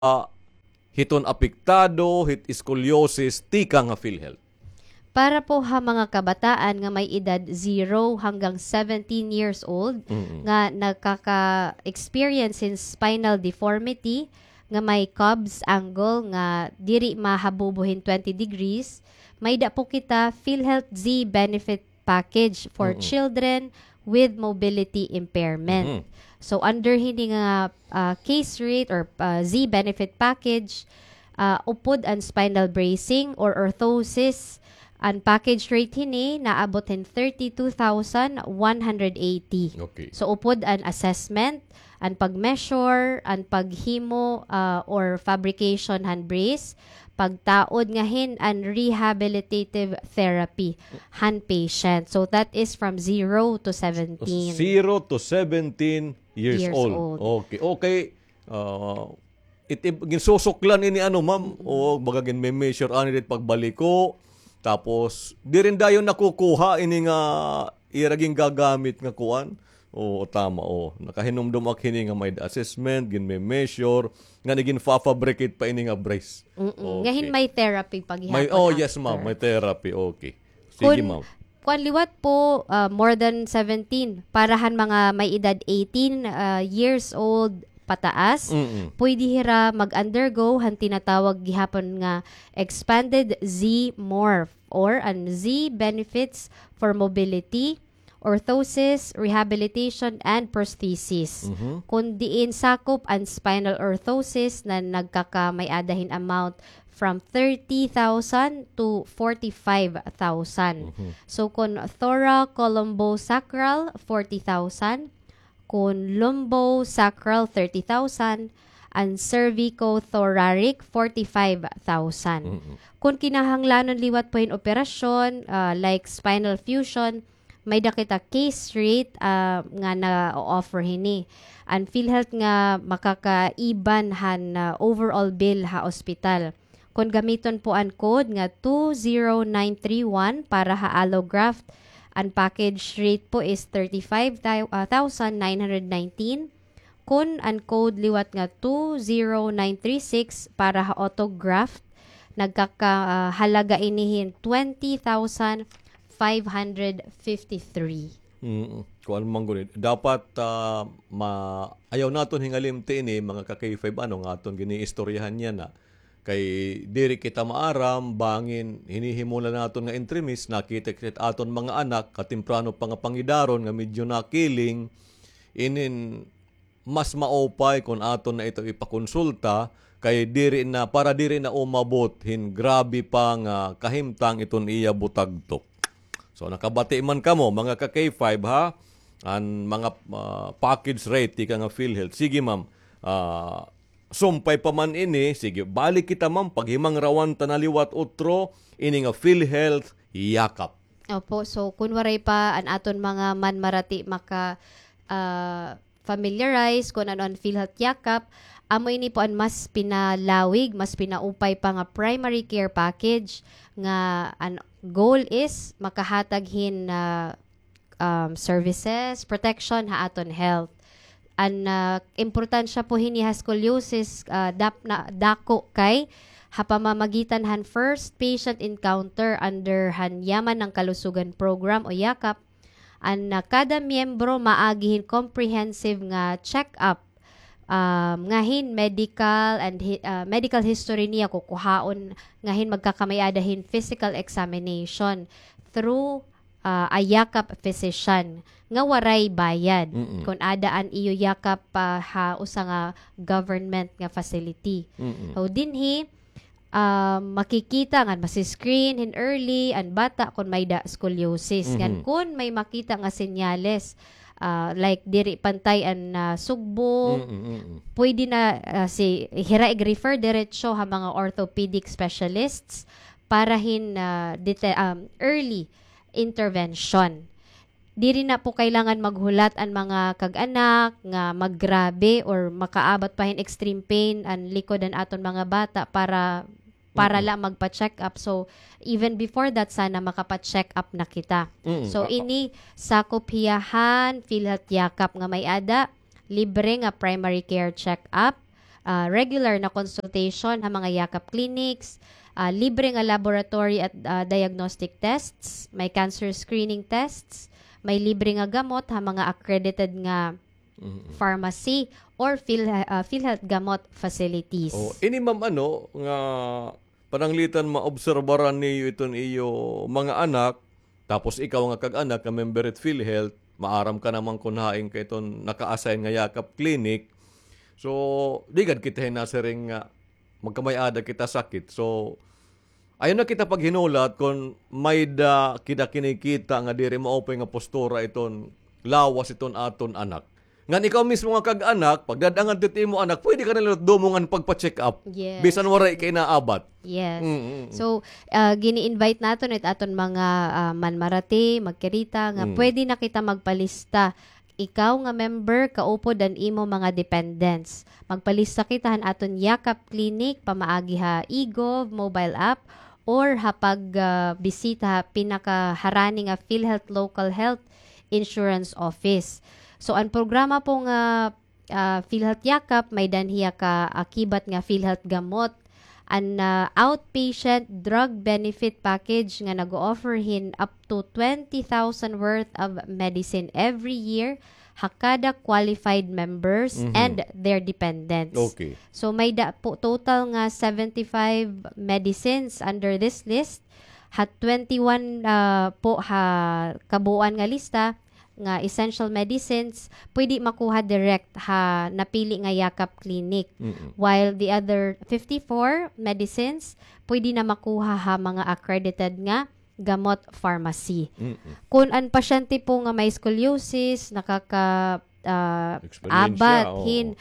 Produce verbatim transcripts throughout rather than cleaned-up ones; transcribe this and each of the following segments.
ah, hiton apektado hit scoliosis tikang ha PhilHealth? Para po ha mga kabataan nga may edad zero hanggang seventeen years old Mm-mm. nga nakaka-experience hin spinal deformity nga may Cobb's angle nga diri mahabubo hin twenty degrees, may-ada po kita PhilHealth Z benefit package for Mm-mm. children with mobility impairment. Mm-hmm. So, under hini nga, ah, case rate or, ah, Z benefit package, ah, upod an spinal bracing or orthosis, an package rate hini naabot hin thirty-two thousand one hundred eighty. Okay. So, upod an assessment, an pag-measure, an paghimo, ah, or fabrication han brace, pagtaod nga hin an rehabilitative therapy han patient. So, that is from zero to seventeen. Zero to seventeen years Years old. old. Okay. Okay. Ah, it, it, ginsusuklan ini ano, ma'am? O, baga ginme-measure ani dit pagbaliko. Tapos, diri dayon nakukuha ini nga ira gingagamit nga kuan. Oo, tama, oo. Nakahinumdom ak hini nga may assessment, ginme-measure, nga ginfa-fabricate pa ini nga brace. Mm-mm. Okay. Nga hin may therapy paghihapon May, oh, yes, ma'am. after. May therapy. Okay. Sige, Kun, ma'am. kuan liwat po, ah, more than seventeen, para han mga may edad eighteen, ah, years old pataas, Mm-mm. pwede hira mag-undergo han tinatawag gihapon nga expanded Z morph or an Z benefits for mobility, orthosis, rehabilitation, and prosthesis. Mhm. Kun diin sakop an spinal orthosis na nagkakamay-ada hin amount from thirty thousand to forty-five thousand. Mhm. So, kun thoracolumbo-sacral, forty thousand. Kun lumbosacral, thirty thousand. And cervicothoracic, forty-five thousand. Mm-mm. Kun kinahanglanon liwat po hin operasyon, ah, like spinal fusion, may-ada kita case rate, ah, nga na-offer hini. An PhilHealth nga makakaiban han, ah, overall bill ha ospital. Kun gamiton po an code nga two zero nine three one para ha allograft, an package rate po is thirty-five thou-, ah, thousand nine hundred nineteen. Kun an code liwat nga two zero nine three six para ha autograft, nagkaka-, ah, halaga ini hin twenty thousand five hundred fifty-three. Mm, kuan man gud. Dapat, ah, ma-, ayaw naton hingalimti ini, mga ka-K five, ano, nga aton giniistoryahan yana. Kay diri kita maaram, bangin hinihimo la naton nga entremis, nakita kita aton mga anak, katemprano pa nga pangidaron nga medyo nakiling, inin mas maupay kon aton na ito ipakonsulta, kay diri na, para diri na umabot hin grabe pa nga kahimtang iton iya butagtok. So, nakabati man kamo, mga ka-K five, ha? An mga, ah, package rate, tikang ha PhilHealth. Sige, ma'am. Ah, sumpay pa man ini. Sige, balik kita, ma'am. Paghimangrawan ta na liwat utro, ini nga PhilHealth Yakap. Opo, so kun waray pa an aton mga manmarati maka, ah, familiarize kun ano an PhilHealth Yakap, amo ini po an mas pinalawig, mas pinaupay pa nga primary care package nga an goal is makahatag hin, ah, um, services, protection ha aton health. An, ah, importansya po hini ha scoliosis, ah, dap-, na, dako kay ha pamamagitan han first patient encounter under han Yaman ng Kalusugan Program o Yakap, an, ah, kada miyembro maagi hin comprehensive nga check-up, um, nga hin medical and hi-, ah, medical history niya kukuhaon, nga hin magkakamay-ada hin physical examination through ah, a Yakap physician nga waray bayad Mm-mm. kon ada an iyo Yakap pa ha usa nga government nga facility. Mm-mm. So, dinhi, ah, makikita ngan masi-screen hin early an bata kon may-ada scoliosis. Ngan Mhm. kon may makita nga senyales, ah, like diri pantay an, ah, sugbog, Mm-mm, mm-mm. pwede na, ah, si, hira ig-refer diretso ha mga orthopedic specialists para hin, ah, dete-, um, early intervention. Diri na po kailangan maghulat an mga kag-anak nga maggrabe or makaabat pa hin extreme pain an likod an aton mga bata para, para Mm-mm. la magpa-check up. So, even before that, sana makapa-check up na kita. Mm, So, ah, ah. ini sakop hiya han PhilHealth Yakap nga may-ada libre nga primary care check-up, ah, regular na consultation ha mga Yakap clinics, ah, libre nga laboratory at, ah, diagnostic tests, may cancer screening tests, may libre nga gamot ha mga accredited nga pharmacy or Phil-, ah, PhilHealth gamot facilities. Oh, ini, ma'am, ano, nga pananglitan maobserbaran niyo iton iyo mga anak, tapos ikaw nga kag-anak nga member it PhilHealth, maaram ka naman kon hain ka iton naka-assign nga Yakap Clinic. So, di gad kita hin nasiring nga magkamay-ada kita sakit. So, ayaw na kita paghinulat kon may-ada kita kinikita nga diri maupay nga postura iton lawas iton aton anak. Ngan ikaw mismo nga kag-anak, pagdad-a ngadto it imo anak, pwede ka na la dumungan pagpa-check up. Yes. Bisan waray ka inaabat. Yes. Mm, mm, mm. So, ah, gini-invite naton it aton mga, ah, manmarati, magkirita, nga pwede na kita magpalista. Ikaw nga member, kaupod an imo mga dependents. Magpalista kita han aton Yakap Clinic, pamaagi ha e-gov, mobile app, or ha pag, ah, bisita ha pinakaharani nga PhilHealth Local Health Insurance Office. So, an programa po nga, ah, PhilHealth Yakap, may-ada hiya kaakibat nga PhilHealth Gamot. An, ah, outpatient drug benefit package nga nag-o-offer hin up to twenty thousand worth of medicine every year ha kada qualified members and their dependents. Okay. So, may-ada po total nga seventy-five medicines under this list. Ha twenty-one, ah, po ha kabuuan nga lista nga essential medicines, pwede makuha direct ha napili nga Yakap Clinic. Mm-mm. While the other fifty-four medicines, pwede na makuha ha mga accredited nga gamot pharmacy. Mm-mm. Kun an pasyente po nga may scoliosis, nakaka-, ah, abat, oo, hin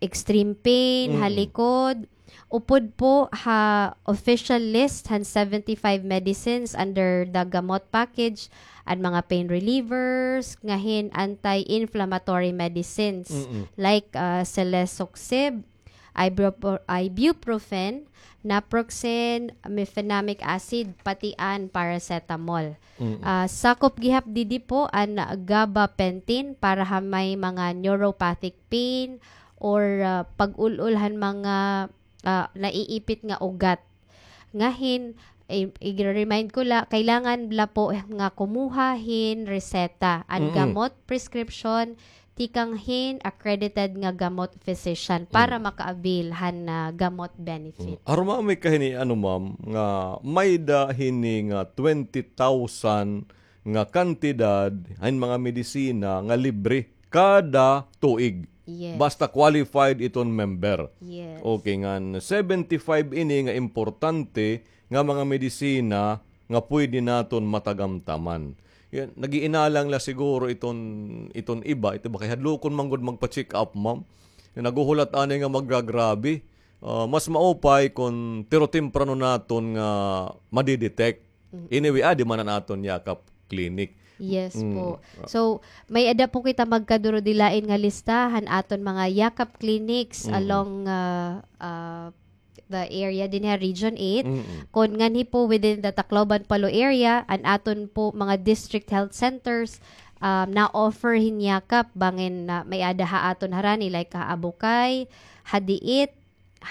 extreme pain ha likod, upod po ha official list han seventy-five medicines under the gamot package, an mga pain relievers, nga hin anti-inflammatory medicines, like, ah, celecoxib, ibupro-, ibuprofen, naproxen, mefenamic acid, pati an paracetamol. Mm. Ah, sakop gihap didi po an gabapentin para ha may mga neuropathic pain or, ah, pag-ul-ol han mga, ah, naiipit nga ugat. Nga hin, i-, i-remind ko la, kailangan la po nga kumuha hin reseta. An gamot prescription, tikang hin accredited nga gamot physician para maka-avail han, ah, gamot benefit. Mm. Aron maamay ka hini, ano, ma'am, nga may-ada hini nga twenty thousand nga kantidad hin mga medisina nga libre kada tuig. Yes. Basta qualified iton member. Yes. Okay, ngan seventy-five ini nga importante nga mga medisina nga pwede naton matagamtaman. Yan, nag-iinalang la siguro iton, iton iba, ito ba kay hadlokon man gud magpa-check up, ma'am? Yan, naghuhulat anay nga magragrabe. Ah, mas maupay kon tiro temprano naton nga madidetect. Mm. Anyway, adi man an aton Yakap Clinic. Yes po. So, may-ada po kita magkadurudilain nga lista han aton mga Yakap clinics along, ah, ah, the area dinhi ha Region eight. Mm-mm. Kon nganhi po within the Tacloban, Palo area, an aton po mga district health centers, um, na-offer hin Yakap, bangin na may-ada ha aton harani, like ha Abukay, ha Diit,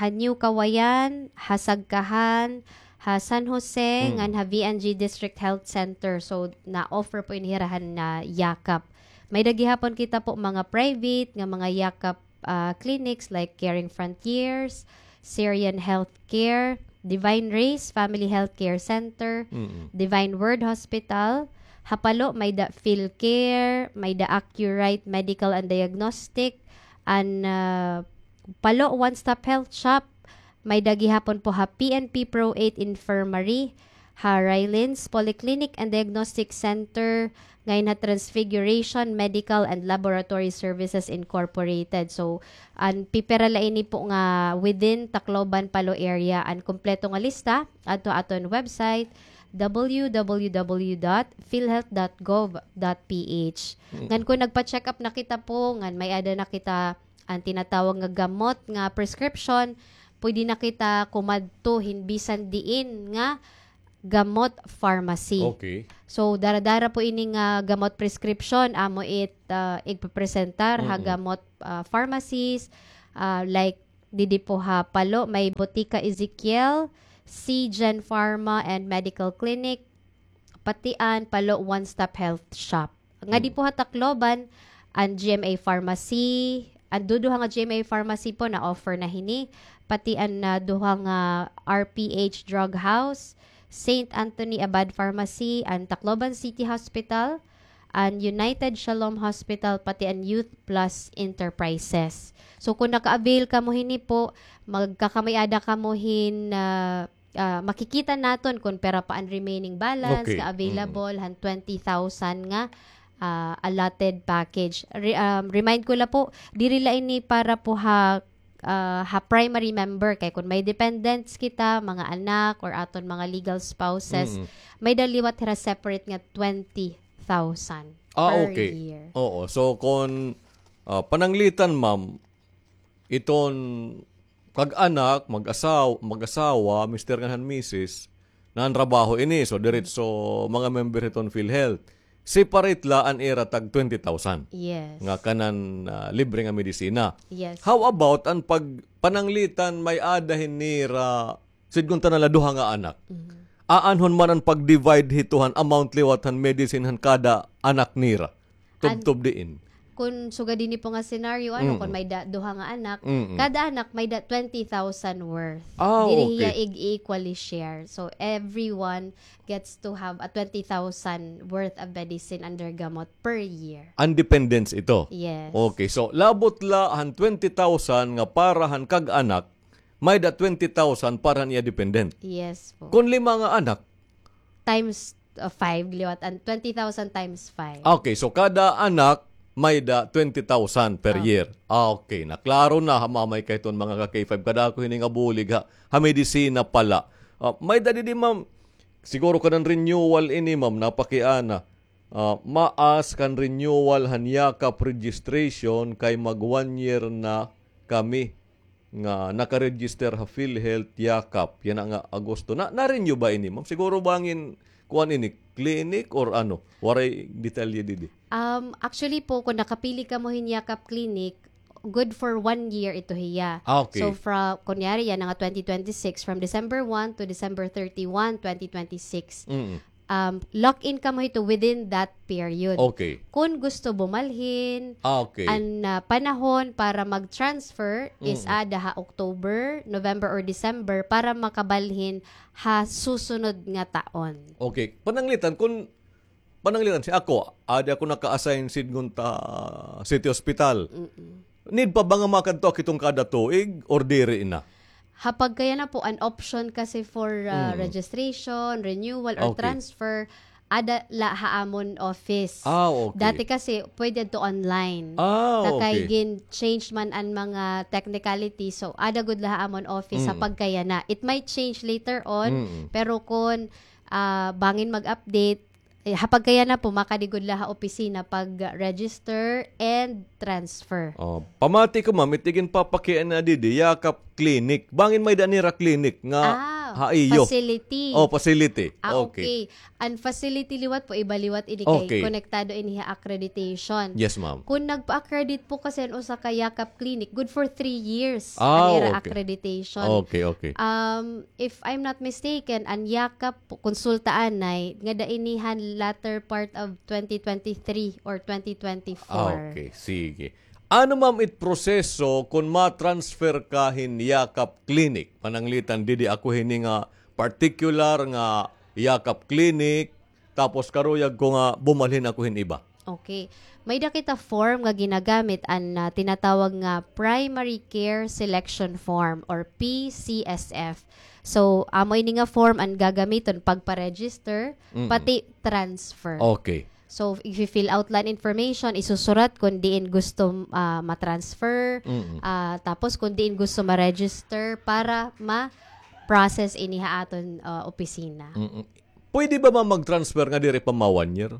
ha New Kawayan, ha Sagkahan, ha San Jose, ngan ha V N G District Health Center. So, na-offer po ini hira han Yakap. May-ada gihapon kita po mga private nga mga Yakap ah, clinics like Caring Frontiers, Syrian Healthcare, Divine Rays Family Healthcare Center, Divine Word Hospital. Ha Palo, may-ada PhilCare, may-ada Accurite Medical and Diagnostic, an, ah, Palo One Stop Health Shop, may-ada gihapon po ha P N P Pro eight Infirmary, ha Rylands Polyclinic and Diagnostic Center, ngayon ha Transfiguration Medical and Laboratory Services Incorporated. So, an pipira la ini po nga within Tacloban, Palo area, an kompleto nga lista, adto aton website, w w w dot philhealth dot gov dot p h. Mm. Ngan kung nagpa-check up na kita po, ngan may-ada na kita an tinatawag nga gamot nga prescription, pwede na kita kumadto hin bisan diin nga gamot pharmacy. Okay. So, dara-dara po ini nga gamot prescription, amo it, ah, igpapresentar ha gamot, ah, pharmacies, ah, like didi po ha Palo, may Botika Ezekiel, C Gen Pharma and Medical Clinic, pati an Palo One Stop Health Shop. Ngadi po ha Tacloban, an G M A Pharmacy, an duduha nga G M A Pharmacy po na-offer na hini, pati an, ah, duha nga R P H Drug House, Saint Anthony Abad Pharmacy, an Tacloban City Hospital, an United Shalom Hospital, pati an Youth Plus Enterprises. So, kung naka-avail kamo hini po, magkakamay-ada kamo hin, ah, ah, makikita naton kung pira pa an remaining balance nga available han twenty thousand nga, ah, allotted package. Re-, um, remind ko la po, diri la ini para po ha, ah, ha primary member, kay kun may dependents kita, mga anak or aton mga legal spouses, may-ada liwat hira separate nga twenty thousand per year. Oo. So, kun, ah, pananglitan, ma'am, iton kag-anak, mag-asaw-, mag-asawa, mister ngan han misis, nanrabaho ini. So, diretso mga member hiton PhilHealth. Separate la an ira tag twenty thousand. Yes. Nga kanan, ah, libre nga medisina. Yes. How about an pag-, pananglitan may-ada hin nira, sidngon ta na la duha nga anak? Aanhon man an pag-divide hito han amount liwat han medicine han kada anak nira? Tubtob diin. Kun sugad hini po nga scenario, ano, kun may-ada duha nga anak, kada anak may-ada twenty thousand worth. Ah, okay. Diri hiya ig-equally share. So, everyone gets to have a twenty thousand worth of medicine under gamot per year. An dependents ito? Yes. Okay, so labot la han twenty thousand nga para han kag-anak, may-ada twenty thousand para han iya dependent. Yes po. Kun lima nga anak? Times, uh, five, liwat an twenty thousand times five. Okay, so kada anak may-ada twenty thousand per year. Okay, naklaro na ha mamay kay iton mga ka-K five. Kadako hini nga bulig ha, ha medisina pala. Ah, may-ada didi, ma'am, siguro kanan renewal ini, ma'am, napakiana. Ah, maas kan renewal han Yakap registration kay mag one year na kami nga naka-register ha PhilHealth Yakap. Yana nga Agosto. Na, na-renew ba ini, ma'am? Siguro bangin, kuan ini, clinic or ano? Waray detalye didi. Um, actually po, kung nakapili kamo hin Yakap Clinic, good for one year ito hiya. Ah, okay. So, fra-, kunyari, yana nga twenty twenty-six, from December one to December thirty-one, twenty twenty-six. Mm. Um, lock in kamo hito within that period. Okay. Kun gusto bumalhin, ah, okay, an, ah, panahon para mag-transfer is ada ha October, November, or December para makabalhin ha susunod nga taon. Okay. Pananglitan, kun, pananglitan, si ako, adi ako naka-assign sidngon ta City Hospital. Mm-mm. Need pa ba nga makadto ak hiton kada tuig or diri na? Ha pagkayana po, an option kasi for, ah, registration, renewal, or transfer, ada la ha amon office. Ah, okay. Dati kasi, pwede adto online. Ah, okay. Ta kay gin-change man an mga technicality, so ada gud la ha amon office ha pagkayana. It might change later on, pero kun, ah, bangin mag-update, eh, ha pagkayana po, makadi gud la ha opisina pag-register and transfer. Oh, pamati ko, ma'am, it iginpapakiana didi, Yakap Clinic. Bangin may-ada nira clinic nga ha iyo. Ah, facility. Oh, facility. Ah, okay. An facility liwat po, iba liwat ini kay konektado ini ha accreditation. Yes, ma'am. Kun nagpa-accredit po kasi an usa ka Yakap Clinic, good for three years an ira accreditation. Ah, okay. Okay, okay. Um, if I'm not mistaken, an Yakap po, konsulta anay, ngada ini han latter part of twenty twenty-three or twenty twenty-four. Ah, okay. Sige. Ano, ma'am, it proseso kun ma-transfer ka hin Yakap Clinic? Pananglitan, didi ako hini nga particular nga Yakap Clinic, tapos karuyag ko nga bumalhin ako hin iba. Okay. May-ada kita form nga ginagamit, an, ah, tinatawag nga Primary Care Selection Form or P C S F. So, amo ini nga form an gagamiton pagpa-register, pati transfer. Okay. So, i-fill out la an information, isusurat kun diin gusto, ah, ma-transfer, ah, tapos kun diin gusto ma-register para ma-process ini ha aton, ah, opisina. Mm-mm. Pwede ba, ma'am, mag-transfer nga diri pa ma-one year?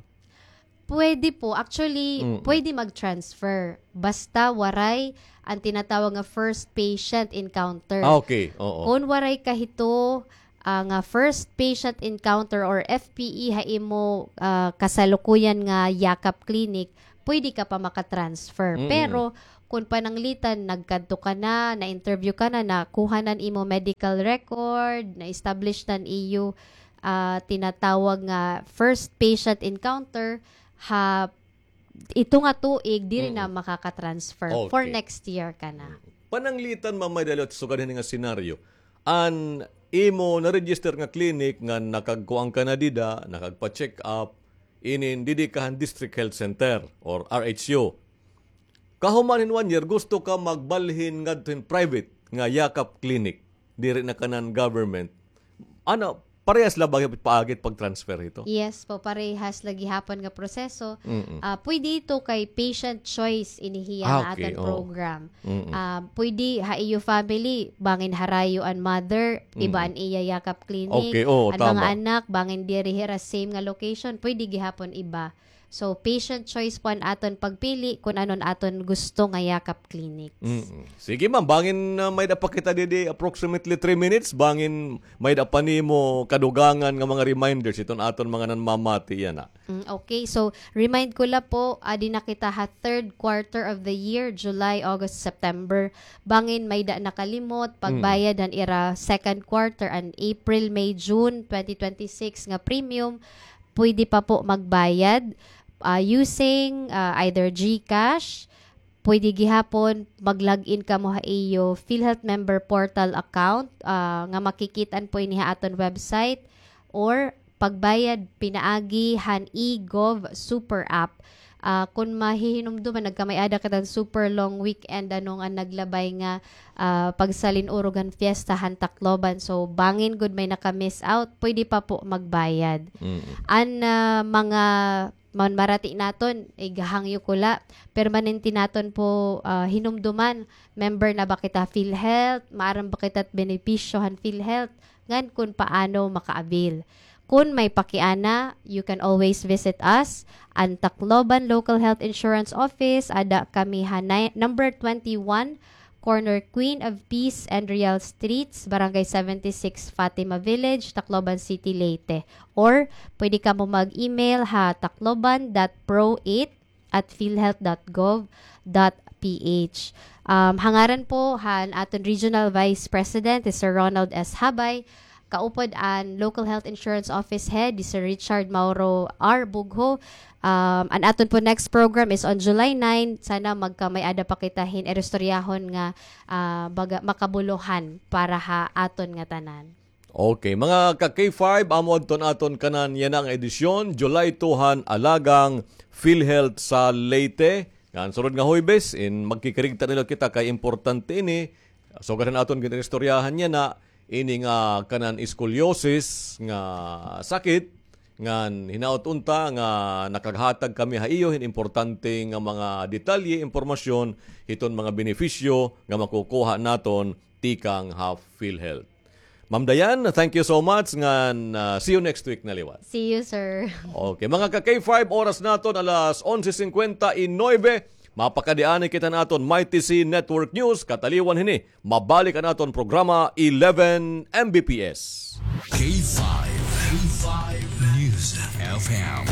Pwede po. Actually, pwede mag-transfer. Basta waray an tinatawag nga first patient encounter. Ah, okay. Oo. Kun waray ka hito, ah, nga first patient encounter or F P E ha imo, ah, kasalukuyan nga Yakap Clinic, pwede ka pa maka-transfer. Mm-mm. Pero Kun pananglitan, nagkadto ka na, na-interview ka na, nakuha nan imo medical record, na-establish nan iyo, ah, tinatawag nga first patient encounter, ha, ito nga tuig, diri na makaka-transfer. For next year ka na. Pananglitan, Ma'am Maida, sugad hini nga senaryo. An imo na-register nga clinic nga nakagkuan ka na dida, nakagpa-check up, inin didi ka han District Health Center or R H U. Kahuman hin one year, gusto ka magbalhin ngadto hin private nga Yakap Clinic. Diri na kanan government. Ano, parehas la ba paagi it pag-transfer hito? Yes po, parehas la gihapon nga proseso. Mm-mm. Ah, pwede ito kay patient choice ini hiya nga aton program. Mm-mm. Ah, pwede ha iyo family, bangin harayo an mother, iba an iya Yakap Clinic. Okay, oo, an mga anak, bangin diri hira same nga location, pwede gihapon iba. So, patient choice po an aton pagpili kun ano an aton gusto nga Yakap Clinics. Mm-mm. Sige, ma'am, bangin, ah, may-ada pa kita didi approximately three minutes, bangin may-ada pa nimo kadugangan nga mga reminders iton aton mga nanmamati yana. Mm, okay. So, remind ko la po, adi na kita ha third quarter of the year, July, August, September. Bangin may-ada nakalimot, pagbayad han ira second quarter, an April, May, June twenty twenty-six nga premium, pwede pa po magbayad, ah, using, ah, either GCash, pwede gihapon mag-log in kamo ha iyo PhilHealth member portal account, ah, nga makikit-an po ini ha aton website, or pagbayad pinaagi han eGov Super App. Ah, kun mahihinumduman, nagkamay-ada kita han super long weekend, ano nga naglabay nga, ah, pagsalin-urog han fiesta han Tacloban. So, bangin gud may naka-miss out, pwede pa po magbayad. Mm. An, ah, mga man marati naton, igahangyo ko la, permanente naton po, ah, hinumduman, member na ba kita PhilHealth, maaram ba kita benepisyo han PhilHealth, ngan kun paano maka-avail. Kun may pakiana, you can always visit us, an Tacloban Local Health Insurance Office, ada kami ha ni-, number twenty-one, corner Queen of Peace and Real Streets, Barangay seventy-six, Fatima Village, Tacloban City, Leyte. Or, pwede kamo mag-email ha tacloban dot pro eight at philhealth dot gov dot ph. Um, ha ngaran po han aton Regional Vice President, hi Sir Ronald S. Habay, kaupod an Local Health Insurance Office Head, hi Sir Richard Mauro R. Bugho. Um, an aton po next program is on July nine. Sana magkamay-ada pa kita hin iristoryahon nga, ah, baga-, makabulohan para ha aton nga tanan. Okay, mga ka-K five, amo adton aton kanan yana nga edisyon, July two han Alagang PhilHealth sa Leyte. Ngan sunod nga Huwebes, in magkikirigta na la kita kay importante ini. Sugad han aton gin-iristoryahan yana, ini nga kanan scoliosis nga sakit, ngan hinaot unta nga nakaghatag kami ha iyo hin importante nga mga detalye, impormasyon, hiton mga benepisyo nga makukuha naton tikang ha PhilHealth. Ma'am Dayan, thank you so much, ngan, ah, see you next week na liwat. See you, sir. Okay, mga ka-K five, oras naton alas onse cincuenta y nueve. Mapakadi anay kita han aton Mighty C Network News, kataliwan hini, mabalik an aton programa, eleven M B P S. K five, K five News F M,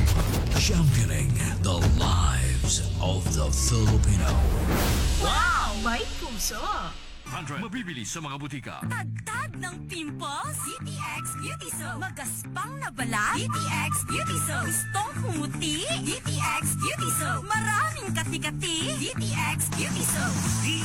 championing the lives of the Filipino. Wow! May puso! Mabibili sa mga butika. Tagtag ng pimples? D T X Beauty Soap. Magaspang na balat? D T X Beauty Soap. Gustong kumuti? D T X Beauty Soap. Maraming kati-kati? D T X Beauty Soap.